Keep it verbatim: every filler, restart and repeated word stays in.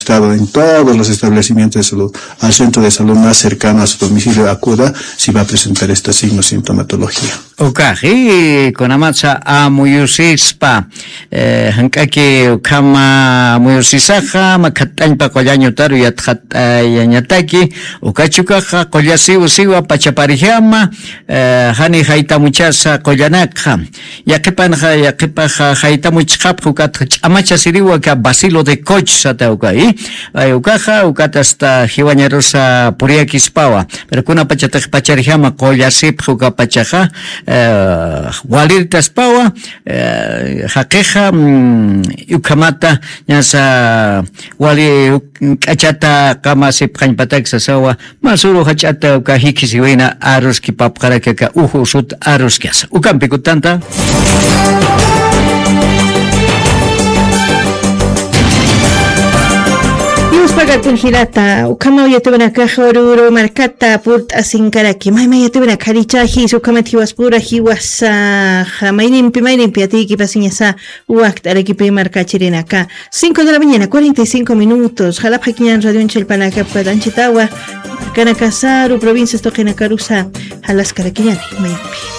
afectado en todos los establecimientos de salud, al centro de salud más cercano a su domicilio acuda si va a presentar esta signo sintomatología. Ukaxi, kunamatsa amuyusispa, eh, jank'aki ukhama amuyusisaxa makhat'añpa qullañutaru yatxat'ayañataki. Ukachukaxa qullasiw siwa pachaparjama, eh, jani jaytamuchasa qullanakxa. Yaqipanxa yaqipaxa jaytamuchxapxa ukatxa ch'amachasiriwa ka bacilo de coch sata uka i, ay ukaxa ukata asta jiwañarusa puriyakispawa. Pero kunapachatix pacharjama qullasipxa ukapachaxa, eh, walirtaspawa, eh, jaqixa, mm, ukhamata ñasa wali uk- k'achata qamasipxañpatak sasawa. Masuru jach'ata uka jikisiwina aruskipapxarakaka uju sut aruskasa ukampikutanta. Yuspagatin jilata ukhama uyatiwanakaxa ururu markata purt'asinkaraki mayma yatiwanakxarichajis ukhamat jiwaspura jiwasaxa maynimpi maynimpi atiyki pasiñasa. Wakt'arakipi markachirinaka. Cinco de la mañana cuarenta y cinco minutos jalapxakiñan radionchallpanakapkatanchitawa. Kanakasaru provincias tuqinakarusa jalaskarakiñani maypi.